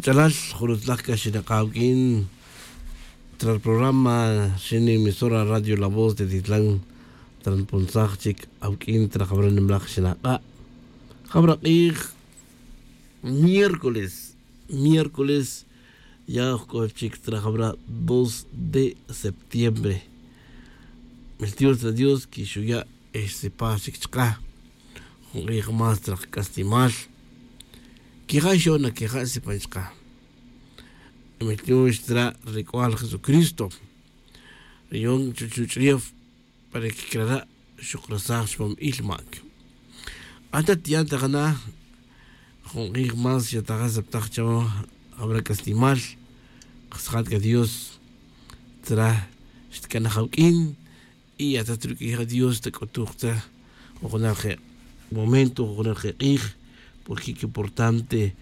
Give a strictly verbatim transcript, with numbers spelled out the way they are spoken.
Ch'alal jurutzlaj c'a xinak'a awuq'uin tra ri programa, ri emisora radio la voz de titlan. Tra npunsaj chic awuq'uin tra jabra nimlaj xinak'a'. Jabra k'ij miércoles, miércoles ya jc'o chic tra jabra dos de septiembre. Miltiyox tra dios que xuya' exsipaj chic chka jun k'ij más tra kac'aslimal. Quija' xona quija' sipan chka. Miltiyox tra ri c'ual jesucristo. Riyon chuch'ref para que crara' xukrasaj chupam il mac. Ata tiyan ta jana jun k'ij más xataja septaj chawa. Jabra c'aslimal. Kasjat c'a dios tzra xtc'anaj awuq'uin. Y ata truq'uija dios tac'utuj tzra jujunal je' momento jujunal je' k'ij. Porque qué importante